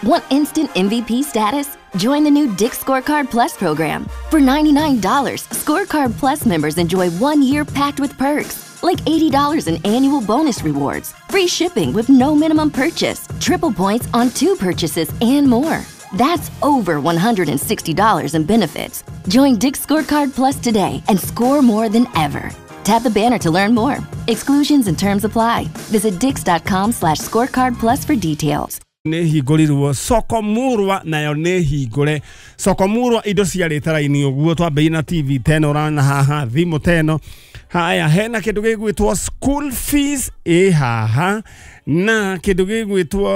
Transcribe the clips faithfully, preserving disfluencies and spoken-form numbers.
Want instant M V P status? Join the new Dick's Scorecard Plus program. For ninety-nine dollars, Scorecard Plus members enjoy one year packed with perks, like eighty dollars in annual bonus rewards, free shipping with no minimum purchase, triple points on two purchases, and more. That's over one hundred sixty dollars in benefits. Join Dick's Scorecard Plus today and score more than ever. Tap the banner to learn more. Exclusions and terms apply. Visit dicks.com slash scorecard plus for details. Nĩ hingũrirwo soko murwa nayo nĩ hingũre soko murwa indo ciarĩte raini ũguo twambĩrĩrie na T V teno ũrana haha thimũ teno haya hena kĩndũ gĩgwĩtwo school fees ĩ haha na kĩndũ gĩgwĩtwo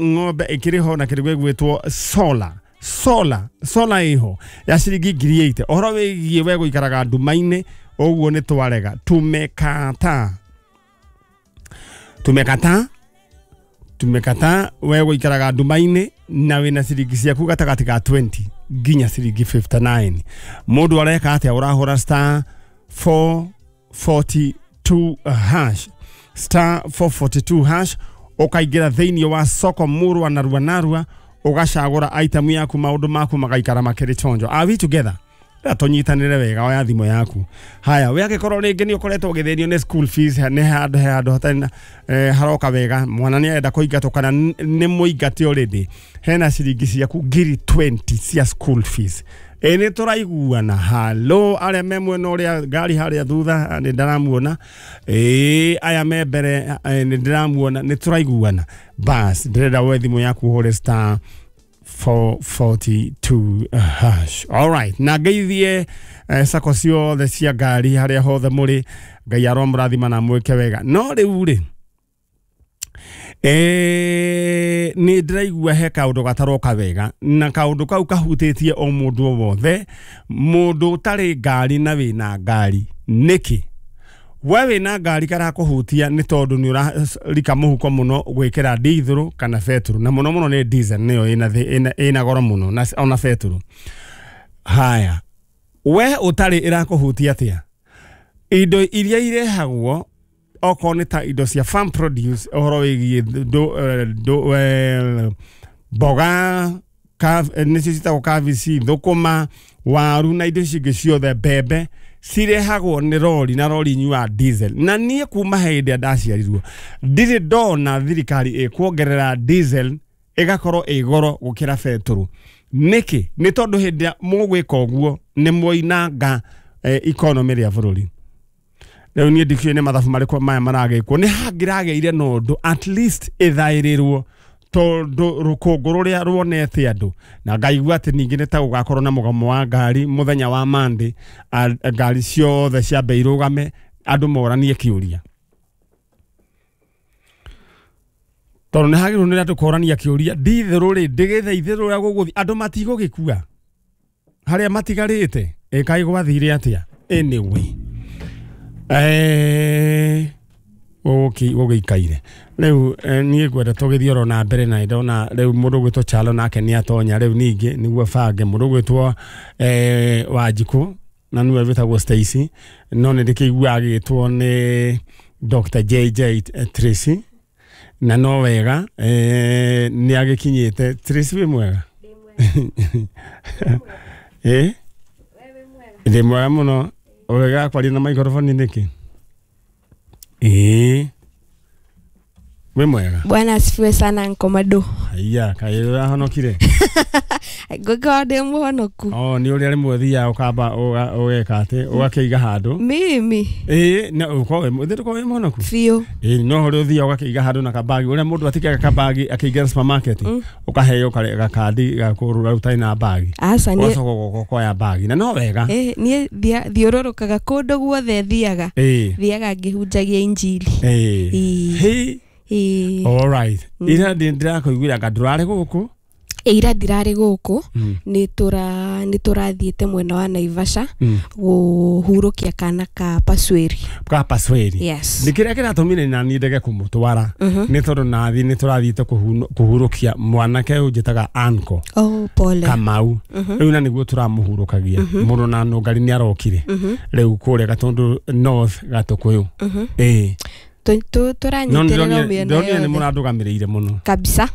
ng'ombe ĩkĩrĩ ho na kĩndũ gĩgwĩtwo solar solar solar ĩho ya ciringi ngiri eighty ũhoro wĩgiĩ we gũikaraga nduma-inĩ ũguo nĩ twarega tumekata tumekata tumekata we gũikaraga nduma-inĩ na wĩna ciringi ciaku gatagatĩ ka twenty nginya ciringi fifty-nine mũndũ areka atĩa ũrahũra star four forty-two hash star four forty-two hash ũkaingĩra thĩinĩ wa soko murwa narua narua ũgacagũra item yaku maũndũ maku magaikara makĩrĩ chonjo. Are we together? Rĩrĩa tũnyitanĩre wega oya thimũ yaku haya we angĩkorwo rĩngĩ nĩ ũkoretwo ũgĩthĩnio nĩ school fees nĩ handũ he handũ hatarĩ na eh, haroka wega mwana nĩ arenda kũingatwo kana nĩ mũingate already hena ciringi ciaku ngiri twenty cia school fees ĩ nĩ tũraiguana halo arĩa me mwena ũrĩa ngari harĩa thutha nĩ ndĩramuona ĩ aya me mbere nĩ ndĩramuona nĩ tũraiguana bas ndĩrenda woe thimũ yaku ũhũre star four forty-two hash. All right. Na ngeithie eh, sako ciothe cia ngari haria hothe muri Ngai aromũrathima na mwĩke wega no rĩu rĩ eh nĩ ndĩraigua he kaũndũ gataroka wega na kaũndũ kau kahutĩtie o mũndũ o wothe mũndũ ũtarĩ ngari na wĩna ngari nĩkĩ we wĩna ngari karakũhutia nĩ tondũ nĩ ũrarika mũhuko mũno gwĩkĩra ndithũrũ kana betũrũ na mũno mũno nĩ diesel nĩyo ĩna ĩna ĩna goro mũno na ona betũrũ haya we ũtarĩ ĩrakũhutia atĩa indo iria irehagwo okorwo nĩ ta indo cia farm produce ũhoro wĩgiĩ mboga nĩcio ciĩtagwo kabici thũkũma waru na indo icio ingĩ ciothe mbembe cirehagwo nĩ rori na rori inyuaga diesel na niĩ kuma hĩndĩ ĩrĩa ndaciarirwo ndirĩ ndona thirikari ĩkuongerera diesel ĩgakorwo ĩ goro gũkĩra betũrũ nĩkĩ nĩ tondũ hĩndĩ ĩrĩa mũgwĩka ũguo nĩ mwoinanga economy rĩa bũrũri rĩu niĩ ndikĩũĩ nĩ mathabu marĩkũ maya maragĩkwo nĩ hangĩragĩire na ũndũ at least ĩthaĩrĩrwo tondũ rũkũngũ rũrĩa ruonete andũ na ngaigua atĩ ningĩ nĩ ta gũgakorwo na mũgomo wa ngari mũthenya wa Monday ngari ciothe ciambe irũgame andũ moranie kĩũria tondũ nĩ hagĩrĩirwo nĩ andũ kũrania kĩũria ndithũrũ rĩ ndĩgĩthaithĩrũ ũrĩa gũgũthiĩ andũ matigũgĩkua harĩa matigarĩte ĩ kaĩ gwathire atĩa anyway eh gũgĩikaire rĩu niĩ ngwenda tũgĩthiĩ oro na mbere na ndona rĩu mũndũ ũgwĩtwo Chalo nake nĩ atonya rĩu ningĩ nĩguo bange mũndũ ũgwĩtwo eh, Wanjikũ na nĩwe wĩtagwo Stacy no nĩ ndĩkĩiguaga agĩtwo nĩ Doctor J J Tracy na no wega eh, nĩ agĩkinyĩte Tracy wĩ mwega ĩ ndĩ mwega mũno ũrega kwaria na microphone nĩkĩ ĩĩ wĩ mwega. Bwana asifiwe sana Nkomado. Haiya kaĩ ũrahonokire ngũkorwo ndĩ mũhonoku oh nĩ ũrĩa rĩmwe ũthiaga ũkamba ũgeka atĩ ũgakĩiga handũ mimi ĩĩ na ũkorwo wĩ ndũkorwo wĩ mũhonoku biũ ĩĩ no ũrĩa ũthiaga ũgakĩiga handũ na kabagi ũrĩa mũndũ atigaga kabagi akĩingĩra supermarket ũkaheo gakandi ga kũrũra ũtarĩ na bagi aca niĩ ũgacoka ũkoya bagi na no wega ĩĩ niĩ thiũrũrũkaga kũndũ guothe thiaga thiaga ngĩhunjagia injili ĩĩ hĩ ĩĩ all right ira ndĩrakũiguĩra anga ndũrarĩ gũkũ ira ndirarĩ gũkũ nĩ tũra nĩ tũrathiĩte mwena wa Naivasha gũhurũkia kana ka Pasweri ka Pasweri yes nĩ kĩrĩa kĩratũmire na niĩ ndege kũmũtwara nĩ tondũ nathi nĩ tũrathiĩte kũhurũkia mwanake ũyũ njĩtaga Anko oh pole Kamau rĩu na nĩguo tũramũhurũkagia mũno na nũngari nĩ arokire rĩu kũrĩa Gatũndũ North Gatũkũyũ ĩĩ tũranyitĩrĩra mĩena ndonire nĩ yothe mũrandũgamĩrĩire mũno kabisa.